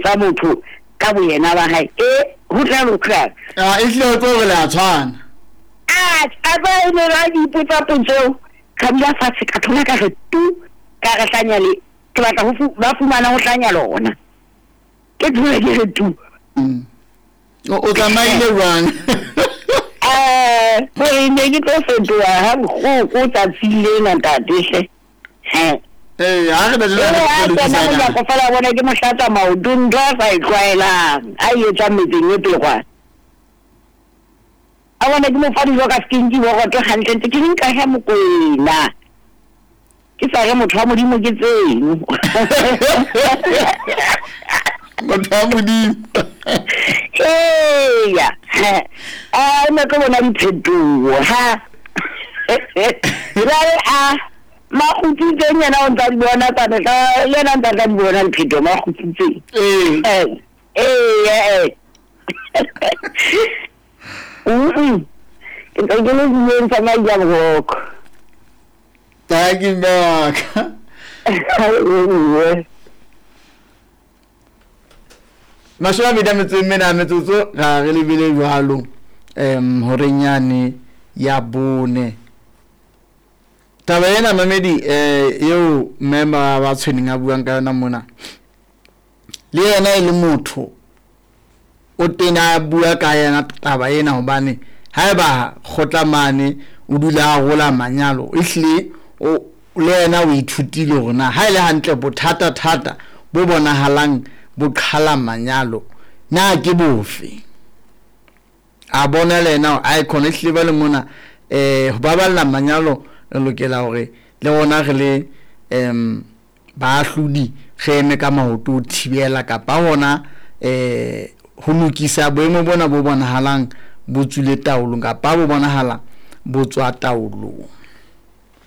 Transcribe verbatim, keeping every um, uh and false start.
botsa motho ka boyena ba hae e ho tla lokang. A e hlile o tlo re le a tshwana. A a ba e ne ba di ipotsa potso eo, ka dula fatshe ka thola ka re tu ka re hlanya le ke batla ho fu- ba fumana ho hlanya lona. Ke thola ke re tu. Mm. O o tsamaile jwang? Eh, hore ne ke tlo fetoha ha bohloko tsatsing lena ntate hle. He. Eh, ha re na Jwale ha le kena lokisa monyako fela bona ke mo hlatsa maoto ntho a sa e tlwaelang a e etsang metseng e pele kwana. A bona ke mo fa dijo ka skinki boroto hantle ntse ke nka he Mokwena. Ke sa re motho wa Modimo ke tseno. Motho wa Modimo. Eya. A ne ke bona diphetoho ha. Jwale a makgutsitseng yena o ntsa di bona tsa mehla le yena ntsa tla di bona diphetoho makgutsitseng. Eh. Eh, eh, eh. Mm. Ke ntse ke le dileng tsa Majaboroko. Thank you, mme wa ka. Ee. Mashome a mabedi a metso e mene a metsotso ra re lebile jwalo em horeng yane ya bone. Taba ena mamedi eh eo mme ba ba tshweneng a buang ka yona mona, le yena e le motho o tena a bua ka yena taba ena, hobane haeba kgotla mane o dula a rola manyalo, ehlile o le yena o ithutile hore na ha e le hantle bothata thata bo bonahalang bo qhala manyalo na ke bofe. A bona le yena hore ae khona ehlile ba le mona eh ho baballa manyalo re lokela hore le rona re le em baahlodi re eme ka maoto ho thibela kapa hona eh ho lokisa boemo bona bo bonahalang bo tswile taolong kapa bo bonahala bo tswa taolong.